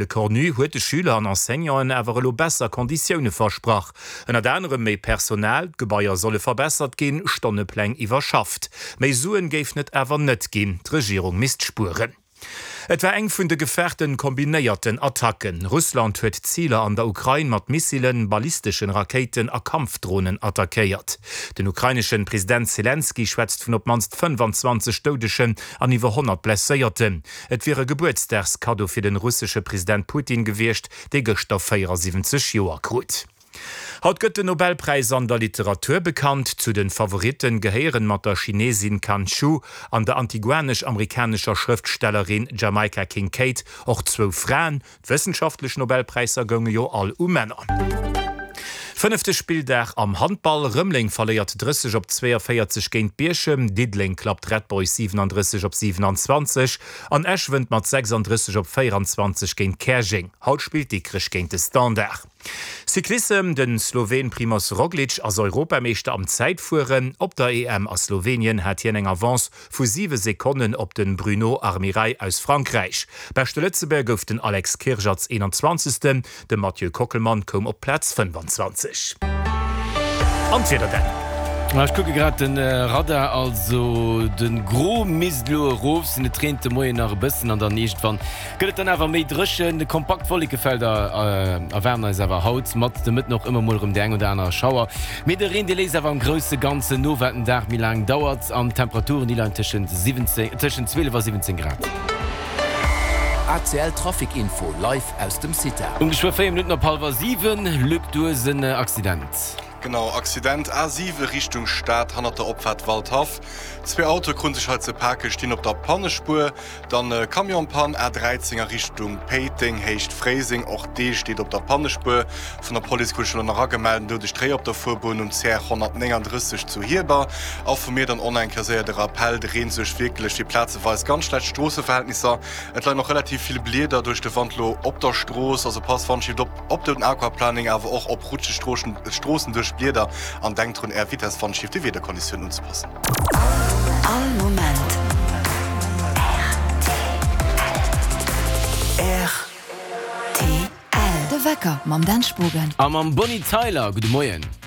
Lecornu huet de Schüler an Enseignanten awer elo besser Konditioune versprach. Ënnert anerem méi Personal, d'Gebaier solle verbessert ginn, Stonnepläng iwwerschafft. Méi Suen géifen et awer net ginn, d'Regierung misst spueren. Et war eng vun de gefaarten kombinéierten Attacken. Russland huet Ziler an der Ukrain mat Missilen, ballisteschen Rakéiten a Kampfdronen attackéiert. Den ukraineschen President Selenskyj schwätzt vun op d'mannst 25 Doudegen an iwwer 100 Blesséierten. Et wier e Gebuertsdagskaddo fir den russesche President Putin gewiescht, dee gëschter 74 Joer krut. Haut gëtt den Nobelpräis an der Literatur bekannt. Zu de Favoritten gehéieren mat der Chinesin Kan Qiu an der antiguanesch-amerikanescher Schrëftstellerin Jamaica Kincaid och zwou Fraen. D'wëssenschaftlech Nobelpräisser gounge jo all u Männer. Fënnefte Spilldag am Handball, Rëmeleng verléiert 30 op 42 géint Bierchem, Diddeleng klappt Red Boys 37 op 27 an Esch wënnt mat 36 op 24 géint Käerjeng. Haut spillt Dikrech géint de Standard. Cyclissem, De Sloween Primoz Roglic ass Europameeschter am Zäitfueren. Op der EM a Slowenien hat hien eng Avance vu 7 Sekonnen op de Bruno Armirail aus Frankräich. Beschte Lëtzebuerger gouf den Alex Kirsch als 21. De Mathieu Kockelmann koum op d'Plaz 25. An d'Wieder dann? Ech kucke grad de Radar, also de Gros misst elo erof sinn. Et reent de Moien nach e bëssen an dann iergendwann gëtt et dann awer méi dréchen. Kompakt Wollekefelder erwaarden eis awer haut mat de Mëtten och ëmmer mol erëm déi eng oder aner Schauer. Mee de Reen, dee léisst awer am grousse Ganzen no, wat den Dag méi laang dauert an d'Temperaturen, déi leien tëschent 17, tëschent 12 a 17 Grad. ACL Trafic Info live aus dem CITA. Um geschwë 4 Minutten op hallwer 7, Luc, du hues en Accident. Genau, Accident A7 Richtung Stad hannert der Opfaart Waldhaff. Zwee Autoe krunn sech hei ze pake, stinn op der Pannespuer. Dann Camionspann A13 a Richtung Péiteng, Héicht Fréiseng, och dee steet op der Pannespuer. Vun der Police krut ech elo nach agemellt, en doudegt Réi op der Fuerbunn um CR 139 zu Hierber. A vu mir dann och nach eng Kéier séier de Rappell, de Reen suergt wierklech fir plazeweis ganz schlecht Stroosseverhältnisser. Et leien och relativ vill Blieder duerch de Wand lo op der Strooss, also passt wannschlift op op den Aquaplaning, awer och op rutscheg Stroossen duerch Blieder an denkt drun är Vitess wannschlift de Wiederkonditiounen unzepassen. All Moment rtl. De Wecker mam Dan Spogen. A mam Bonnie Tyler. Gudde Moien.